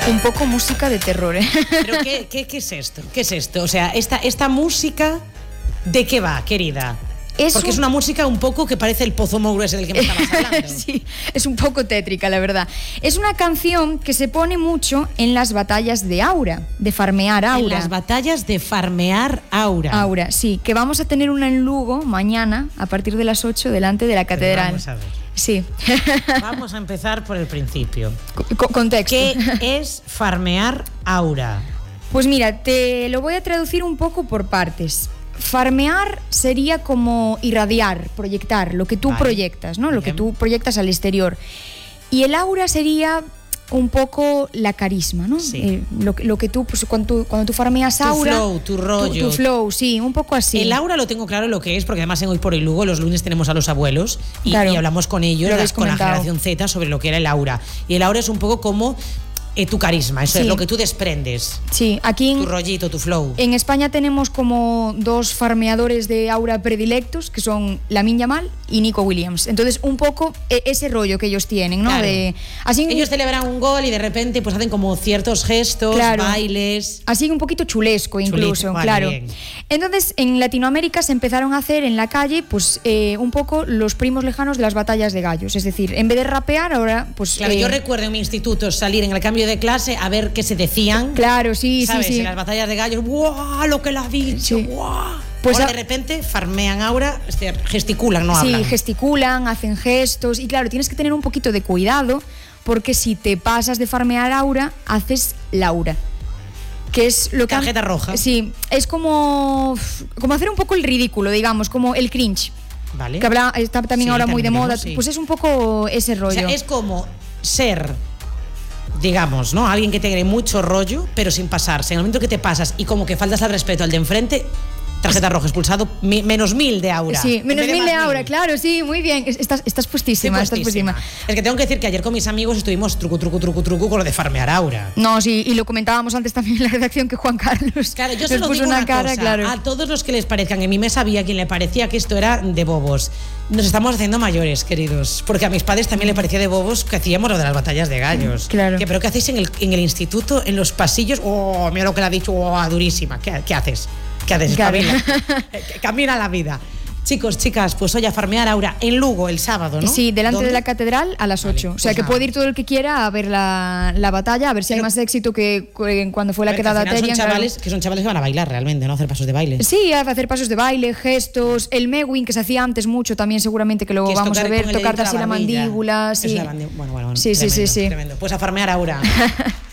Un poco música de terror, ¿eh? Pero ¿qué es esto? ¿Qué es esto? O sea, esta música, ¿de qué va, querida? Porque es una música un poco que parece el Pozo Mouro ese del que me estabas hablando. Sí, es un poco tétrica, la verdad. Es una canción que se pone mucho en las batallas de Aura, de farmear Aura. En las batallas de farmear Aura. Aura, sí, que vamos a tener una en Lugo mañana a partir de las 8 delante de la catedral. Vamos a ver. Sí. Vamos a empezar por el principio. Contexto. ¿Qué es farmear Aura? Pues mira, te lo voy a traducir un poco por partes. Farmear sería como irradiar, proyectar, lo que tú proyectas, ¿no? Lo que tú proyectas al exterior. Y el aura sería un poco la carisma, ¿no? Sí. Lo que tú, pues, cuando tú farmeas aura... Tu flow, tu rollo. Tu flow, sí, un poco así. El aura lo tengo claro lo que es, porque además en Hoy por Hoy Lugo los lunes tenemos a los abuelos y hablamos con ellos, con la generación Z, sobre lo que era el aura. Y el aura es un poco como... tu carisma, eso es lo que tú desprendes. Sí, aquí tu rollito, tu flow. En España tenemos como dos farmeadores de aura predilectos, que son Lamine Yamal y Nico Williams. Entonces, un poco ese rollo que ellos tienen, ¿no? Claro. Ellos celebran un gol y de repente pues hacen como ciertos gestos, bailes. Así un poquito chulesco incluso, vale, claro. Bien. Entonces, en Latinoamérica se empezaron a hacer en la calle pues un poco los primos lejanos de las batallas de gallos. Es decir, en vez de rapear, ahora pues... Claro, yo recuerdo en mi instituto salir en el cambio de clase a ver qué se decían. Claro, sí, ¿sabes? sí. En las batallas de gallos, ¡guau! Lo que la ha dicho, ¡guau! Pues ahora de repente farmean aura, gesticulan, no hablan. Sí, gesticulan, hacen gestos y claro, tienes que tener un poquito de cuidado porque si te pasas de farmear aura, haces Laura. Que es lo que tarjeta roja. Sí, es como hacer un poco el ridículo, digamos, como el cringe. Vale. Que está también ahora muy de moda, sí. Pues es un poco ese rollo. O sea, es como ser, digamos, ¿no? Alguien que tenga mucho rollo, pero sin pasarse. En el momento que te pasas y como que faltas al respeto al de enfrente, tarjeta roja, expulsado, menos 1000 de aura. Sí, menos 1000 de aura, claro, sí, muy bien. Estás puestísima, estás puestísima. Es que tengo que decir que ayer con mis amigos estuvimos truco con lo de farmear aura. No, sí, y lo comentábamos antes también en la redacción que Juan Carlos. Claro, yo se lo digo una cara, cosa, claro. A todos los que les parezcan, en mi mesa había quien le parecía que esto era de bobos. Nos estamos haciendo mayores, queridos, porque a mis padres también le parecía de bobos que hacíamos lo de las batallas de gallos. Claro. ¿Pero qué hacéis en el instituto, en los pasillos? Oh, mira lo que le ha dicho, oh, durísima. ¿Qué haces? ¿Qué haces? Claro. Camina la vida. Chicos, chicas, pues hoy a farmear aura en Lugo el sábado, ¿no? Sí, delante de la catedral a las 8. Vale, o sea, que puede ir todo el que quiera a ver la batalla, a ver si hay más éxito que cuando fue la quedada Terian. Son chavales que van a bailar realmente, ¿no? A hacer pasos de baile. Sí, a hacer pasos de baile, gestos. El Mewing, que se hacía antes mucho, también seguramente que lo vamos a ver. Tocarte así la mandíbula. Sí. Bueno. Sí, tremendo, sí. Tremendo. Pues a farmear aura.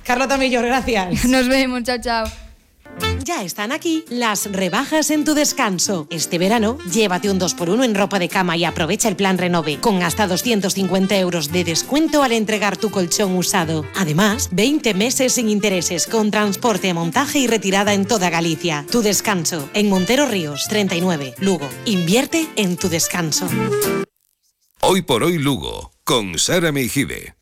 Carlota Millor, gracias. Nos vemos, chao. Ya están aquí las rebajas en tu descanso. Este verano, llévate un 2x1 en ropa de cama y aprovecha el plan Renove, con hasta 250 euros de descuento al entregar tu colchón usado. Además, 20 meses sin intereses, con transporte, montaje y retirada en toda Galicia. Tu descanso, en Montero Ríos, 39, Lugo. Invierte en tu descanso. Hoy por Hoy Lugo, con Sara Meijide.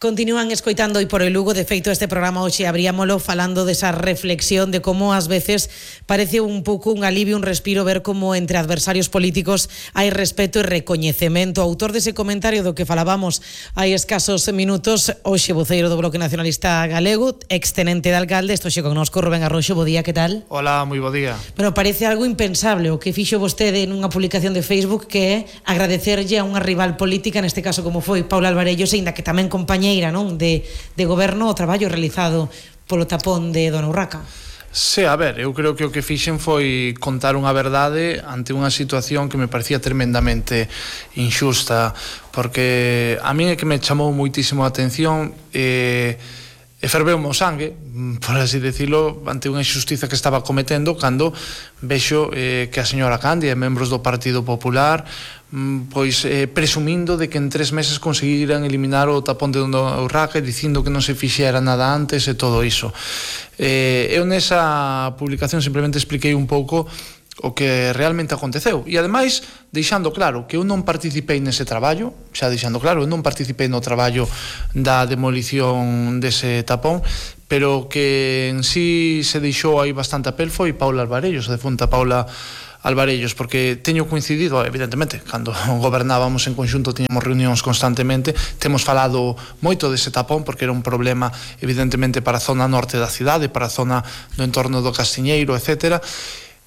Continúan escoitando Hoy por Hoy Lugo. De feito, este programa hoxe abríamolo falando desa reflexión de como ás veces parece un pouco un alivio, un respiro ver como entre adversarios políticos hai respeto e recoñecemento. O autor dese comentario do que falábamos hai escasos minutos, hoxe voceiro do Bloque Nacionalista Galego, extenente de alcalde, isto xe connosco, Rubén Arroxo. Bo día, que tal? Hola, moi bo día. Bueno, parece algo impensable o que fixo vostede nunha publicación de Facebook, que é agradecerlle a unha rival política, neste caso como foi Paula Alvarellos, aínda que tamén compañeira, non, de goberno, o traballo realizado polo tapón de Dona Urraca. Sí, a ver, eu creo que o que fixen foi contar unha verdade ante unha situación que me parecía tremendamente injusta, porque a mí é que me chamou moitísimo a atención e ferveume o sangue, por así decirlo, ante unha injustiza que estaba cometendo cando vexo que a señora Candia e membros do Partido Popular pois presumindo de que en 3 meses conseguiran eliminar o tapón de Dona Urraca, dicindo que non se fixera nada antes e todo iso. Eu nesa publicación simplemente expliquei un pouco o que realmente aconteceu e ademais deixando claro que eu non participei nese traballo, xa deixando claro, eu non participei no traballo da demolición dese tapón, pero que en sí se deixou aí bastante a pel foi Paula Alvarellos, a defunta Paula Alvarellos, porque teño coincidido, evidentemente, cando gobernábamos en conxunto tiñamos reunións constantemente, temos falado moito dese tapón, porque era un problema evidentemente para a zona norte da cidade, para a zona do entorno do Castiñeiro, etcétera,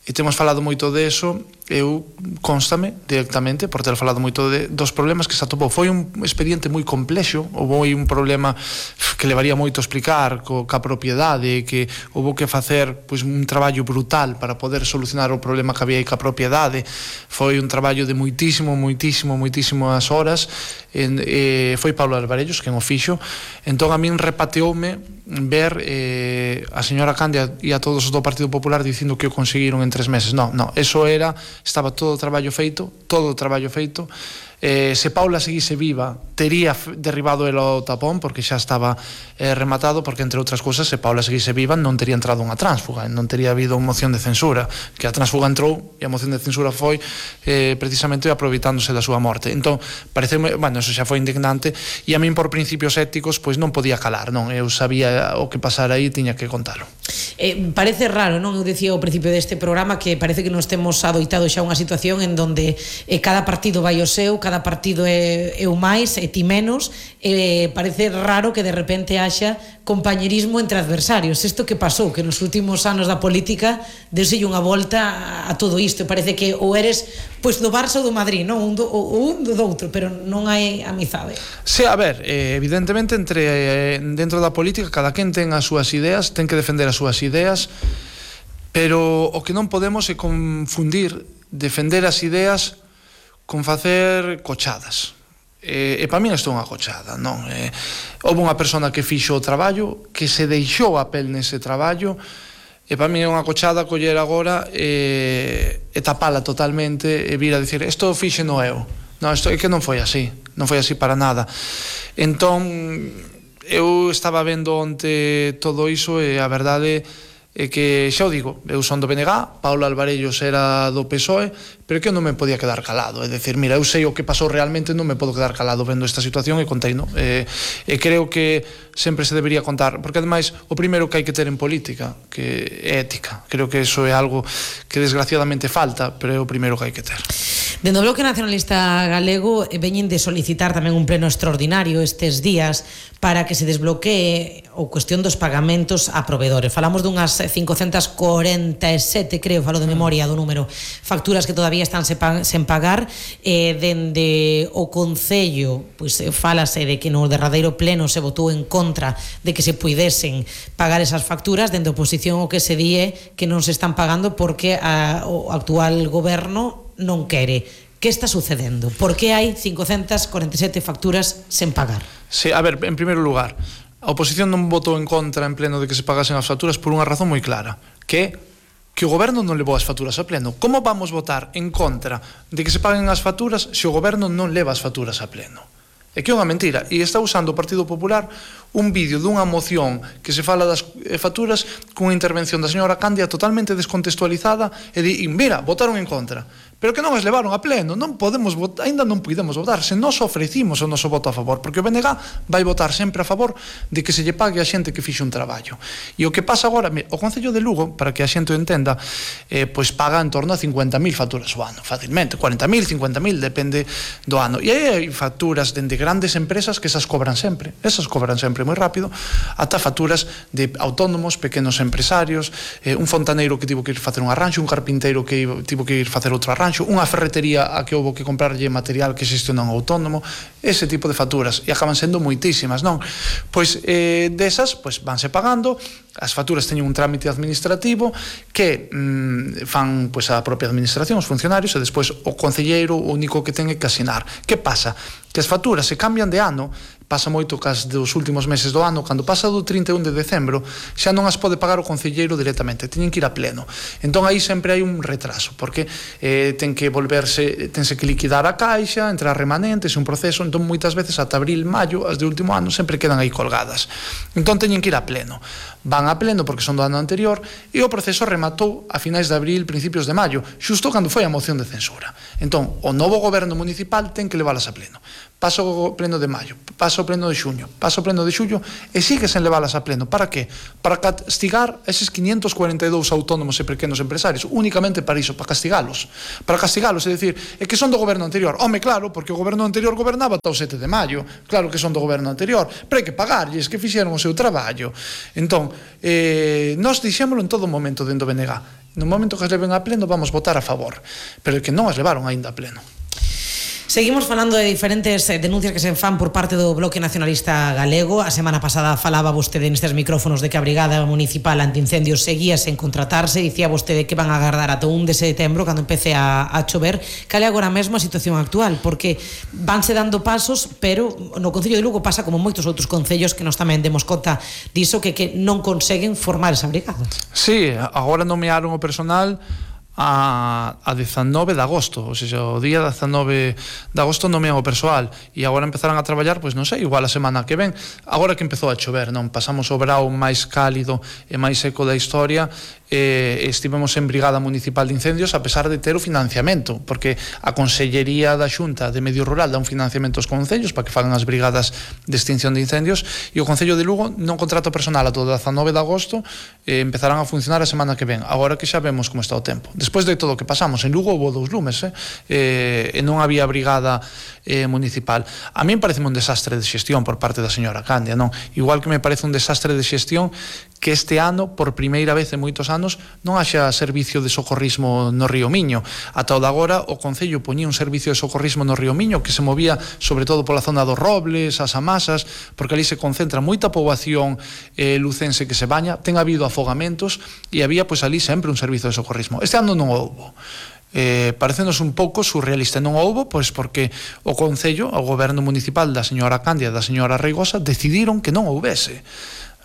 e temos falado moito de eso. Eu constame directamente por ter falado moito dos problemas que se atopou. Foi un expediente moi complexo, houve un problema que levaría moito a explicar ca propiedade, que houve que facer pois, un traballo brutal para poder solucionar o problema que había aí ca propiedade. Foi un traballo de moitísimas horas. Foi Paulo Alvarellos quen o fixo. Entón a min repateoume ver a señora Candia e a todos os do Partido Popular dicindo que o conseguiron en 3 meses. No, eso estaba todo o traballo feito. Se Paula seguise viva, tería derribado el o tapón, porque xa estaba rematado, porque entre outras cousas, se Paula seguise viva non tería entrado unha tránsfuga, non tería habido unha moción de censura, que a tránsfuga entrou e a moción de censura foi precisamente aproveitándose da súa morte. Entón, pareceume, eso xa foi indignante, e a min por principios éticos pois non podía calar, non, eu sabía o que pasara aí, tiña que contalo. Parece raro, non? Eu dicía ao principio deste programa que parece que nos temos adoitado xa unha situación en donde cada partido vai o seu, cada partido é o máis e ti menos, parece raro que de repente haxa compañerismo entre adversarios. Isto que pasou, que nos últimos anos da política deuselle unha volta a todo isto, parece que ou eres pois do Barça ou do Madrid, non? Un do outro, pero non hai amizade. Sí, a ver, evidentemente dentro da política cada quen ten as súas ideas, ten que defender as súas ideas, pero o que non podemos é confundir defender as ideas con facer cochadas. E para min isto é unha cochada, non? Houve unha persona que fixo o traballo, que se deixou a pel nese traballo, e para min é unha cochada coller agora e tapala totalmente e vir a dicir isto fixeno eu. Non, isto é que non foi así para nada. Entón, eu estaba vendo onte todo iso e a verdade é que, xa o digo, eu son do BNG, Paulo Alvarellos era do PSOE, pero que eu non me podía quedar calado. É dicir, mira, eu sei o que pasou realmente, non me podo quedar calado vendo esta situación e contei, non? E creo que sempre se debería contar, porque ademais o primeiro que hai que ter en política que é ética. Creo que eso é algo que desgraciadamente falta, pero é o primeiro que hai que ter. Dentro do Bloque Nacionalista Galego veñen de solicitar tamén un pleno extraordinario estes días para que se desbloquee a cuestión dos pagamentos a proveedores. Falamos dunhas 547, creo, falo de memoria do número, facturas que todavía están sen pagar. Dende o Concello, pois falase de que no derradeiro pleno se votou en contra de que se puidesen pagar esas facturas. Dende a oposición o que se di é que non se están pagando porque o actual goberno non quere. Que está sucedendo? Por que hai 547 facturas sen pagar? Sí, a ver, en primeiro lugar, a oposición non votou en contra en pleno de que se pagasen as facturas por unha razón moi clara, que o goberno non levou as facturas a pleno. Como vamos votar en contra de que se paguen as facturas se o goberno non leva as facturas a pleno? É que é unha mentira, e está usando o Partido Popular un vídeo dunha moción que se fala das facturas cunha intervención da señora Candia totalmente descontextualizada e di, mira, votaron en contra, pero que non as levaron a pleno, non podemos votar, ainda non podemos votar, se nos ofrecimos o noso voto a favor, porque o BNG vai votar sempre a favor de que se lle pague a xente que fixe un traballo. E o que pasa agora, o Concello de Lugo, para que a xente o entenda, pois paga en torno a 50.000 facturas o ano, facilmente, 40.000, 50.000, depende do ano. E hai facturas dende grandes empresas que esas cobran sempre moi rápido, ata facturas de autónomos, pequenos empresarios, un fontaneiro que tivo que ir facer un arranxo, un carpinteiro que tivo que ir facer outro arranxo, unha ferretería a que houve que comprarlle material que xestiona un autónomo, ese tipo de facturas, e acaban sendo moitísimas, non? Pois desas, pois vanse pagando, as facturas teñen un trámite administrativo que fan pois a propia administración, os funcionarios, e despois o concelleiro o único que ten é que asinar. Que pasa? Que as facturas se cambian de ano, pasa moito cas dos últimos meses do ano, cando pasa do 31 de decembro, xa non as pode pagar o concelleiro directamente, teñen que ir a pleno. Entón aí sempre hai un retraso, porque tense que liquidar a caixa, entrar remanentes, un proceso, entón moitas veces ata abril, maio, as de último ano sempre quedan aí colgadas. Entón teñen que ir a pleno. Van a pleno porque son do ano anterior e o proceso rematou a finais de abril, principios de maio, xusto cando foi a moción de censura. Entón, o novo goberno municipal ten que leválas a pleno. pasa o pleno de maio, pasa o pleno de xuño, pasa o pleno de xullo e sigue sen leválas a pleno. Para que? Para castigar eses 542 autónomos e pequenos empresarios, únicamente para iso, para castigalos, é dicir, é que son do goberno anterior. Home, claro, porque o goberno anterior gobernaba ata o 7 de maio, claro que son do goberno anterior, pero hai que pagarlles, que fixeron o seu traballo. Entón, nós dixémolo en todo momento dentro do BNG, no momento que as leven a pleno vamos votar a favor, pero é que non as levaron aínda a pleno. Seguimos falando de diferentes denuncias que se fan por parte do Bloque Nacionalista Galego. A semana pasada falaba vostede nestes micrófonos de que a Brigada Municipal Antiincendios seguía sen contratarse. Dicía vostede que van a agardar ata 1 de setembro cando empece a chover. Cal é agora mesmo a situación actual? Porque vanse dando pasos, pero no Concello de Lugo pasa como moitos outros concellos que nos tamén demos conta diso, que non conseguen formar esa brigada. Sí, agora nomearon o personal a 19 de agosto, ou seja, o día 19 de agosto nomean o persoal e agora empezarán a traballar, pois non sei, igual a semana que ven, agora que empezou a chover, non? Pasamos o verao máis cálido e máis seco da historia, estivemos en Brigada Municipal de Incendios a pesar de ter o financiamento, porque a Consellería da Xunta de Medio Rural dá un financiamento aos concellos para que fagan as brigadas de extinción de incendios e o Concello de Lugo non contrata personal ata o 19 de agosto, empezarán a funcionar a semana que ven, agora que xa vemos como está o tempo. Despois de todo o que pasamos, en Lugo houve 2 lumes, e non había brigada municipal. A min parece un desastre de xestión por parte da señora Candia, non? Igual que me parece un desastre de xestión que este ano, por primeira vez en moitos anos, non haxa servicio de socorrismo no Río Miño. Ata o de agora, o Concello poñía un servicio de socorrismo no Río Miño que se movía sobre todo pola zona dos Robles, as Amasas, porque ali se concentra moita poboación lucense que se baña, ten habido afogamentos e había pois ali sempre un servicio de socorrismo. Este ano non houbo. Parecenos un pouco surrealista, non houbo, pois porque o Concello, o Goberno Municipal da señora Candia e da señora Reigosa decidiron que non houbese.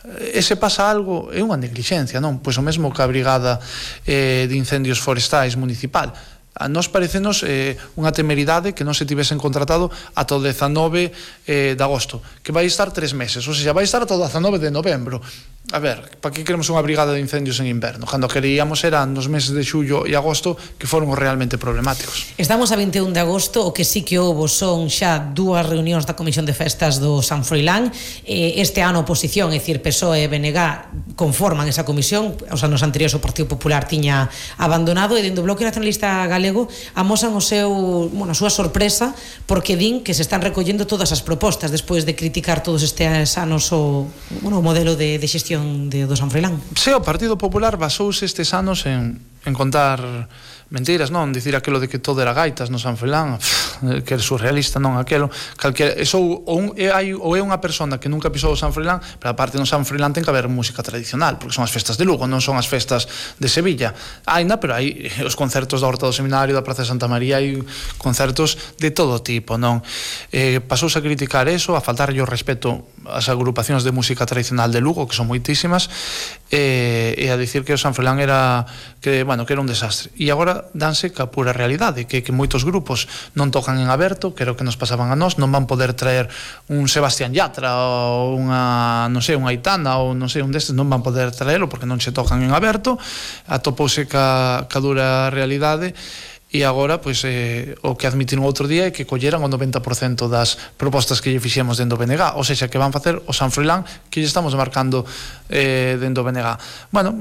E se pasa algo, é unha neglixencia, non? Pois o mesmo que a Brigada de Incendios Forestais Municipal. A nós parecenos unha temeridade que non se tivesen contratado ata o 19 de agosto, que vai estar 3 meses, ou seja, vai estar ata o 19 de novembro. A ver, para que queremos unha brigada de incendios en inverno? Cando queríamos eran nos meses de xullo e agosto que foron os realmente problemáticos. Estamos a 21 de agosto, o que sí que houbo son xa 2 reunións da Comisión de Festas do San Froilán. Este ano a oposición, é dicir, PSOE e BNG, conforman esa comisión. Os anos anteriores o Partido Popular tiña abandonado e dentro do Bloque Nacionalista Galego amosan a súa sorpresa porque din que se están recollendo todas as propostas despois de criticar todos estes anos o modelo de xestión do San Froilán. Sí, o Partido Popular basouse estes anos en contar mentiras, non? Dicir aquilo de que todo era gaitas no San Froilán, que é surrealista, non? Aquelo, calquera, ou é unha persona que nunca pisou o San Froilán, pero aparte no San Froilán ten que haber música tradicional, porque son as festas de Lugo, non son as festas de Sevilla. Ainda, pero hai os concertos da Horta do Seminario, da Praza de Santa María, hai concertos de todo tipo, non? Pasouse a criticar eso, a faltarlle o respeto ás agrupacións de música tradicional de Lugo, que son moitísimas, e a dicir que o San Froilán era un desastre. E agora danse ca pura realidade, que moitos grupos non tocan en aberto, que era o que nos pasaban a nós, non van poder traer un Sebastián Yatra ou unha Aitana ou un destes, non van poder traelo porque non se tocan en aberto, atopouse ca dura realidade. E agora, pois, o que admitiron outro día é que colleran o 90% das propostas que lle fixemos dentro do BNG, ou seja, que van facer o San Froilán que lle estamos marcando dentro do BNG. Bueno,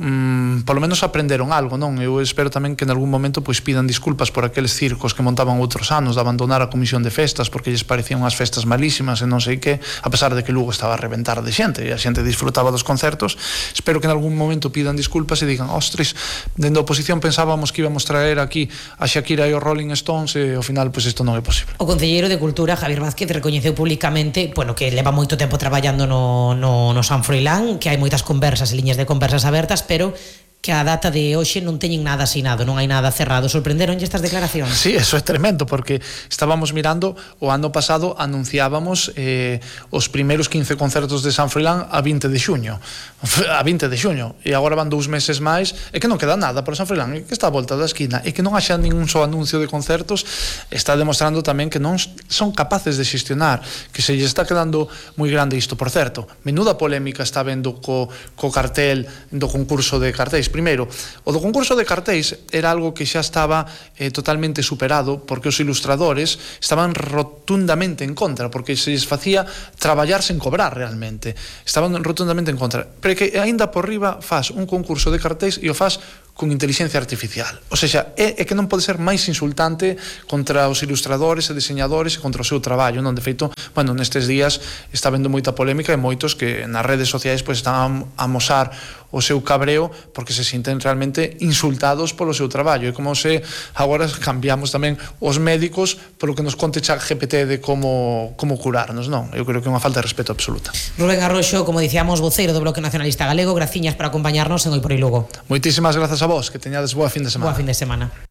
polo menos aprenderon algo, non? Eu espero tamén que en algún momento pois pidan disculpas por aqueles circos que montaban outros anos de abandonar a comisión de festas porque lles parecían unhas festas malísimas e non sei que, a pesar de que Lugo estaba a reventar de xente e a xente disfrutaba dos concertos. Espero que en algún momento pidan disculpas e digan, ostres, dentro da oposición pensábamos que íbamos traer aquí a Shakira e os Rolling Stones e ao final pois isto non é posible. O concelleiro de Cultura, Javier Vázquez, recoñeceu públicamente, que leva moito tempo traballando no San Froilán, que hai moitas conversas e liñas de conversas abertas, pero que a data de hoxe non teñen nada asinado, non hai nada cerrado. Sorprenderonlle estas declaracións? Sí, eso é tremendo, porque estábamos mirando, o ano pasado anunciábamos os primeiros 15 concertos de San Froilán a 20 de xuño, e agora van 2 meses máis, e que non queda nada para San Froilán, e que está a volta da esquina, e que non haxa ningún só anuncio de concertos, está demostrando tamén que non son capaces de xestionar, que se lle está quedando moi grande isto. Por certo, menuda polémica está vendo co cartel do concurso de cartéis, cartéis. Primeiro, o do concurso de cartéis era algo que xa estaba totalmente superado, porque os ilustradores estaban rotundamente en contra, porque se les facía traballar sen cobrar realmente. Estaban rotundamente en contra. Pero que aínda por riba faz un concurso de cartéis e o faz con inteligencia artificial. O sea, é que non pode ser máis insultante contra os ilustradores e diseñadores e contra o seu traballo, non? De feito, bueno, nestes días está vendo moita polémica e moitos que nas redes sociais pois están a amosar o seu cabreo porque se sinten realmente insultados polo seu traballo. É como se agora cambiamos tamén os médicos polo que nos conte ChatGPT de como curarnos, non? Eu creo que é unha falta de respeto absoluta. Rubén Arroxo, como dicíamos, voceiro do Bloque Nacionalista Galego, graciñas por acompañarnos en Hoy por Hoy Lugo. Moitísimas grazas a vos, que teñades boa fin de semana. Boa fin de semana.